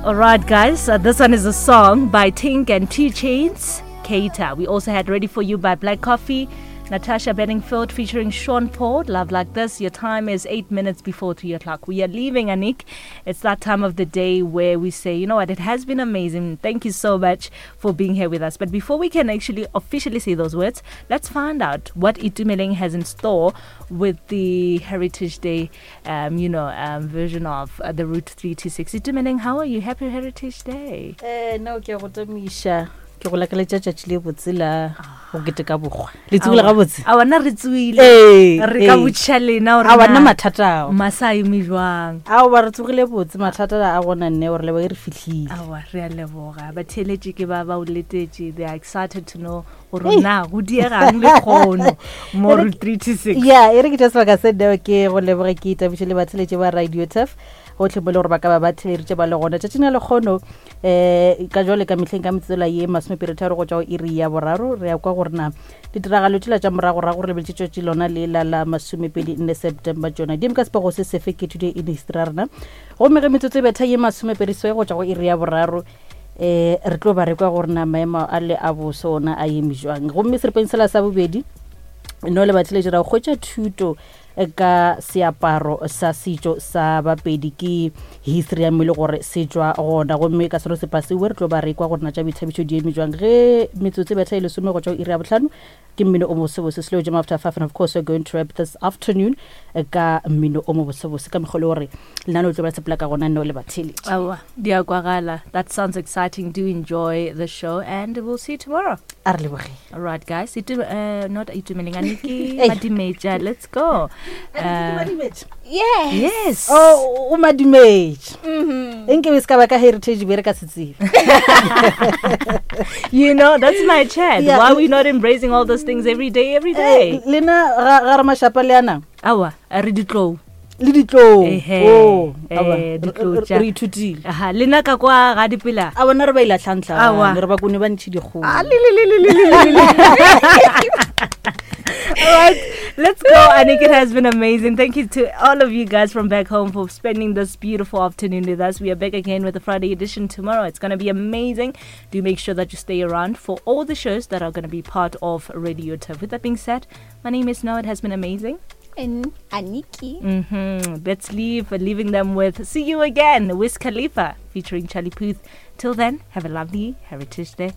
All right, guys, uh, this one is a song by Tink and 2 Chainz, Cater. We also had Ready For You by Black Coffee, Natasha Bedingfield featuring Sean Paul, Love Like This. Your time is 8 minutes before 3 o'clock. We are leaving, Anik. It's that time of the day where we say, you know what, it has been amazing. Thank you so much for being here with us. But before we can actually officially say those words, let's find out what Itumeleng has in store with the Heritage Day, um, you know, um, version of uh, the Route 326. Itumeleng, how are you? Happy Heritage Day. Eh, no, ke go tamiša. Ke go lakaletša tšatši le botse la go keteka bokgwa. Le tsogile gabotse? A wana re tsoile. Ee, Re ka botšiša lena gore A wana mathata ao. Masa a eme jwang? Ao ba re tsogile botse mathata a gona nne gore lebo e re fihlile. Aowa, re a leboga. Batheeletši ke ba ba o letetše. They are excited to know gore na go diegang le kgono mo Route 326. Ya, e re ke tša sebaka se neo ke go leboge ke itabiše le batheeletši ba Radio Turf gotlhe mo e le gore ba ka ba ba theleditše ba le gona tšatšing la lekgono um ka jwale ka mehleng ka metsotsela ye masomepeditharo go tšwa go iri ya boraro re ya kwa gore na ditiragalo tšela tša moragorago re lebeletše tšatši lona le la la masomepedi nne september tšona di eme ka sepego se sefe ke today in history ya rena gomme ge metsotso e betha ye masomepedi swe go tšwa go iri ya boraro um re tlo ba re kwa gore na maemo a le a boso ona a eme jwang gomme seripeng sela sa bobedi no le batheletši ra go hwetša thuto ka seaparo sa setšo sa Bapedi ke history ya mmele gore se tšwa gona gomme ka selo sepasiwe re tlo ba re kwa gore na tša boithabišo di eme jwang ge metsotso e betha e lesome go tšwa go iri ya bohlano ke mmino o mobosebose slow jam after five and of course we're going to wrap this afternoon ka mmino o mobosebose ka mekgwa le gore lenane o tlo ba sepela ka gona nno le batheletši. Aowa, di a kwagala. That sounds exciting. Do enjoy the show and we'll see you tomorrow. A re lebogeng. All right, guys. Itu, uh, not Itumeleng, Aniki Madimetja. Let's go. Uh, Yes. yes. Oh, o madimetša enke be se ka ba ka heritage be re ka se tsebe You know, that's my chat. Yeah. Why are we not embracing all those things every day, every day? Eh, lena ga ga re mašapa le anang Awa, re ditlou. le ditlou Ehe, Oh, eh, aowa, re- ditlou re tša. re ithutile Aha, lena ka kwa ga dipela. a bona re ba Aowa. ilatlhantlhane re ba kone ba ntšhi dikgolo All right, let's go. Anik, it has been amazing. Thank you to all of you guys from back home for spending this beautiful afternoon with us. We are back again with the Friday edition tomorrow. It's going to be amazing. Do make sure that you stay around for all the shows that are going to be part of Radio Turf. With that being said, my name is Noah. It has been amazing. And Aniki. Let's leave, leaving them with See You Again, Wiz Khalifa featuring Charlie Puth. Till then, have a lovely Heritage Day.